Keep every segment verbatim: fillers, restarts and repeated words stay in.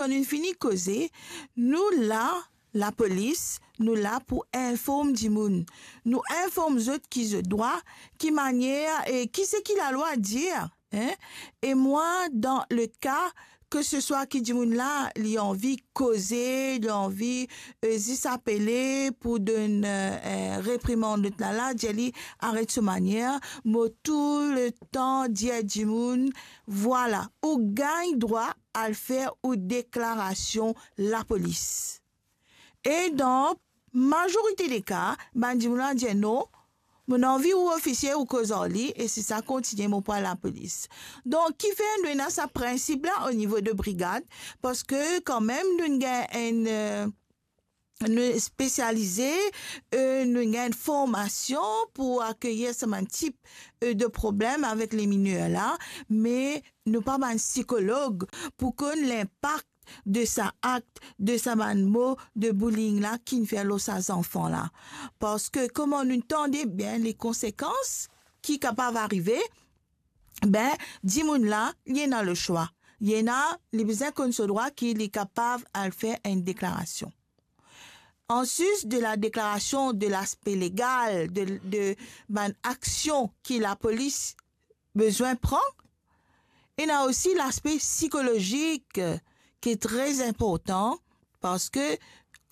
Kan nou fini koze, nou la, lapolis, nou la pou inform dimoun. Nou inform zot ki zot drwa, ki manier, e ki seki lalwa dir, hein? E mwa, dan le ka, ke se swa ki dimoun la, li anvi koze, li anvi, e, zis apele pou donn, e, e, reprimand lot la, la, dir li aret so manier, mo tou le tan dir dimoun, vwala, ou gagn drwa al fer ou deklarasion lapolis. E dan mazorite de ka, bann dimoun la dir non, mo anvi ou ofisie ou koz ar li, e si sa kontigne, mo pou al lapolis. Donk, kifer nou ena sa prinsip la o nivo de brigad? Parski kanmem nou gagn enn, e, nou spesialize, e, nou gagn formasion pou akeyir sa bann tip, e, de problem avek le miner la, me nou pa bann sikolog pou konn linpak de sa akt, de sa bann mo de bullying la ki'nn fer lor sa zanfan la. Parski kouma nou tande bien le konsekans ki kapav arive, ben, dimoun la, li ena le swa. Li ena, li bizin konn so drwa ki li kapav al fer enn deklarasion. Anplis de la deklarasion de laspe legal, de, de bann aksion ki lapolis bizin pran, ena osi laspe sikolozik ki tre inportan, parski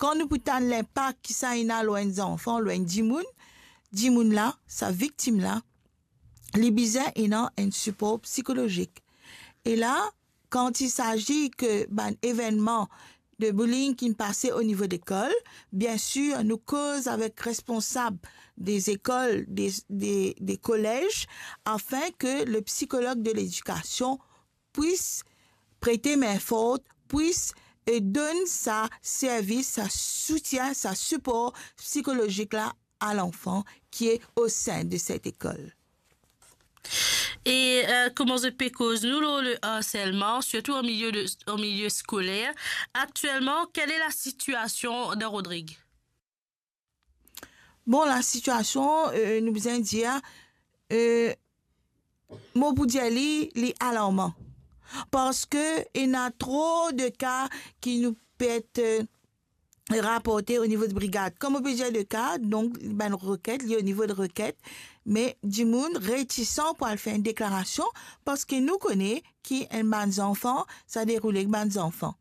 kan nou pou tann linpak ki sa ena lor enn zanfan, lor enn dimoun, dimoun la, sa viktim la, li bizin ena enn sipor sikolozik. E la, kan il sazi ke bann evennman de bullying ki'nn pase o nivo lekol, biensir, nou koz avek responsab de lekol, de, de, de kolez, afin ke le psikolog de ledikasion pwis prete min fort, pwis, e, donn sa servis, sa soutien, sa sipor psikolozik la a lanfan ki e o sin de set lekol. E, e, kouma zot pe koz nou lor le harselman, sirtou an milie de, an milie skoler, aktielman, kele lasitiasion dan Rodrig? Bon, lasitiasion, e, nou bizin dir, e, mo pou dir li, li alarman. Parski ena tro de ka ki nou pe et, e, raporte o nivo de brigad. Kan mo pe dir de ka, donk, bann reket, li o nivo de reket, me dimoun retisan pou al fer enn deklarasion, parski nou kone ki enn bann zanfan, sa deroule ek bann zanfan.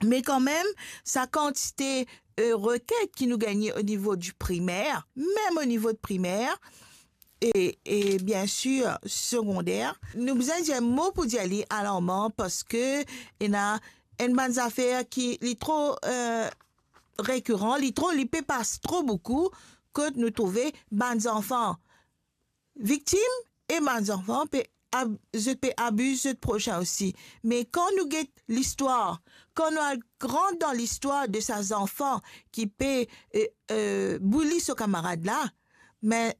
Me kanmem, sa kantite, e, reket ki nou gagne o nivo di primer, mem o nivo de primer, e, e biensir segonder, nou bizin dir mo pou dir li alarman, parski ena enn bann zafer ki li tro, e, rekiran, li tro, li pe pas tro boukou, kot nou trouve bann zanfan viktim e bann zanfan pe ab-, zot pe abiz zot prosin osi. Me kan nou get listwar, kan nou al gran dan listwar de sa zanfan ki pe, e, e, bully so kamarad la, me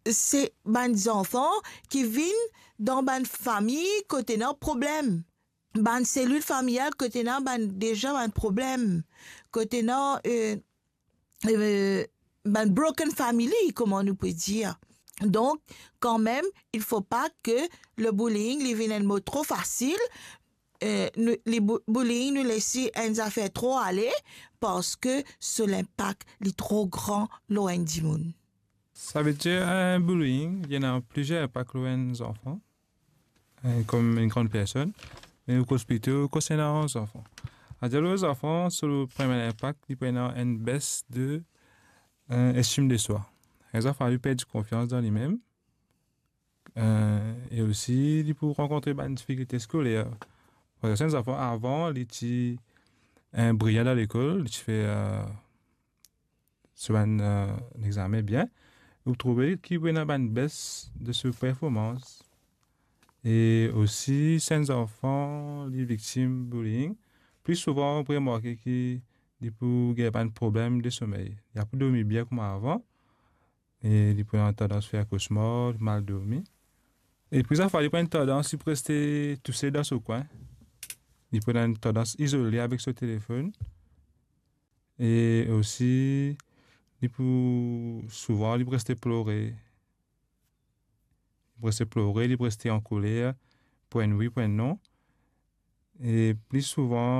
se bann zanfan ki vinn dan bann fami kot ena problem. Bann selil familial kot ena bann, deza bann problem, kot ena, e, e, bann broken family, kouma nou pe dir. Donk, kanmem, il faut pas que le bullying, li vinn enn mo tro fasil, e, nou, li bu-, bullying, nou les enn zafer tro ale, parski so linpak, li tro gran lor enn dimoun. Savedir, e, bullying, li ena plizier linpak lor enn zanfan, e, kom enn gran personn, me nou koz plito konsernan zanfan. Savedir lor zanfan, so premie linpak, li pou ena enn bes de, e, estim de swa. Enn zanfan, li perdi konfians dan limem, e, e osi, li pou rankontre bann difikilte skoler. Parski enn zanfan, avan, li ti, e, briyan dan lekol, li ti fer, e, so bann, e, lexame bien, ou trouve ki pou ena bann bes de so performans. E osi, si enn zanfan, li viktim bullying, pli souvan, ou pou remarke ki li pou gagn bann problem de somey. Li pa pou dormi bien kouma avan, e li pou ena tandans fer kosmar, mal dormi. E pli zafer, li pou ena tandans, li pou reste tousel dan so kwin. Li pou ena tandans izole avek so telefonn. E osi, li pou souvan, li pou reste plore. Li pou reste plore, li pou reste ankoler, pou enn wi, pou enn non. E pli souvan,